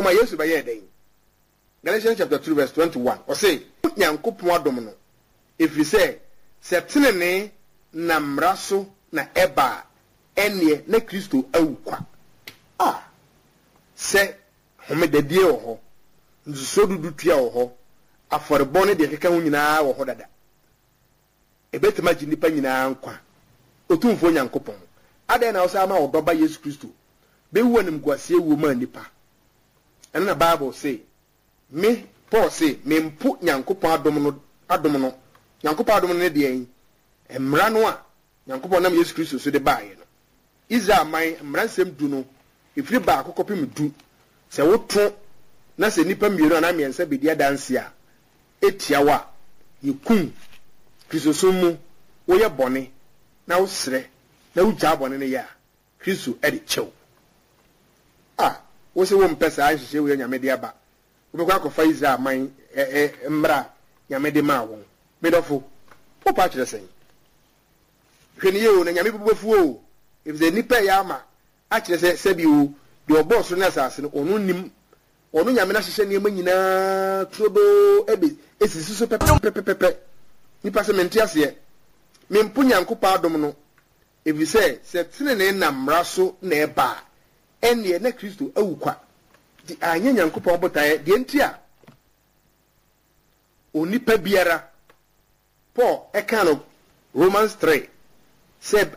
fam a, Yesu bɛyɛɛ dɛn? Galatians chapter 2 verse 21, ɔse, Nyankopɔn adom no, ɛfiri sɛ, sɛ tenenee nam mmara so na ɛba a, ɛnneɛ na Kristo awu kwa. A Sɛ homedadie wɔ hɔ, ntotosoɔ dudu tua wɔ hɔ, afɔrebɔ ne deɛ ɛkeka ho nyinaa wɔ hɔ dada. Ɛbɛtumi agye nnipa nyinaa nkwa. Otumfoɔ Nyankopɔn, adɛn na wosan ma wo Dɔba Yesu Kristo bɛwu animguaseɛ wuo maa nnipa? Ɛno na Bible se, Me, Paul se, mempo Nyankopɔn adom no, adom no. Nyankopɔn adom no ne deɛn? Mmara no a Nyankopɔn nam Yesu Kristo so de baeɛ no. Israel man mmaransɛm du no, ɛfiri baako kɔpem du, sɛ woto na sɛ nnipa mmienu anaa mmiɛnsa bɛdi adanseɛ a ɛtia wo a, yɛkum wo. Kristosom mu, woyɛ bɔne na wosrɛ na wogyaa bɔne no yɛ a, Kristo de kyɛ wo. A Wose wompɛ saa nhyehyɛe wei a Nyame de aba, wobɛkɔ akɔfa Israel man mmara a Nyame de maa wɔn. Me dɔfo, wopɛ akyerɛ sɛn? Hwɛ no yie o, na Nyame bo bɛfu wo o, efisɛ nnipa reyɛ ama akyerɛ sɛ sɛbi o, deɛ ɔbɔɔ soro ne asase no, ɔno nnim, ɔno Nyame no ahyehyɛ nneɛma nyinaa turodoo ɛbɛ esisi so pɛpɛpɛpɛpɛ. Nnipa se, Mente aseɛ. Mempo Nyankopɔn adom no, efisɛ sɛ tenenee nam mmara so na ɛba a, ɛnneɛ na Kristo awu kwa. Nti anyɛ Nyankopɔn botaeɛ, deɛ nti a onipa biara Paul kaa no Romans 3 sɛ.